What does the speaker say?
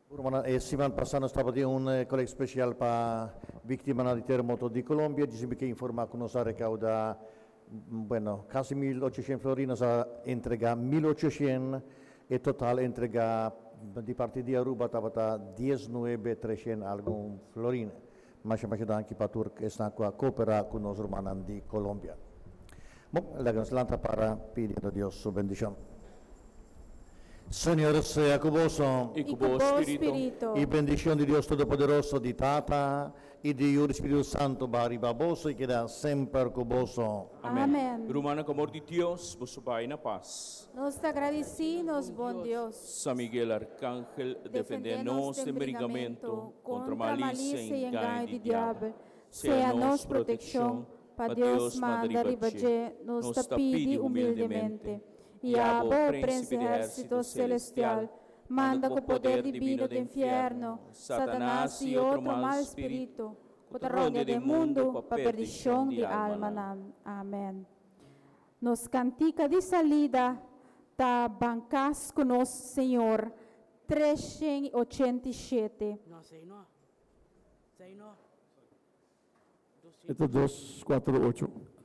Rumannan, e siman pasa nos tabatin un kolekt spesial pa víktimanan di teremoto di Colombia. Djis mi ke informá ku nos a rekaudá, bueno, kasi 1800 florin. Nos a entregá 1800. E total entregá di parti di Aruba tabata 19 300 algun florin. Masha masha danki pa tur esnan ku a kooperá ku nos rumannan di Colombia. Bon, laga nos lanta para pidiendo Dios su bendishon. Señor sea ku boso. I ku bo spiritu. I bendishon di Dios Todopoderoso, di Tata, i di Yu, di Spiritu Santu baha riba boso i keda semper ku boso. Amen. Rumannan, ku amor di Dios, boso bai na pas. Nos ta gradisí nos bon Dios. San Miguel Arcángel, defendé nos den bringamentu kontra malisia i engaño di diabel. Sea nos protekshon, pa Dios manda riba dje, nos ta pidi humildemente. I abo, Prens di ehérsito selestial, manda ku poder dibino den fièrnu Satanas i otro mal spiritu ku ta rondia den mundu pa perdishon di almanan. Amen. Nos kantika di salida ta Ban Kas Ku Nos Señor, 387. No, sei no. Sei no. E ta 2, 4, 8.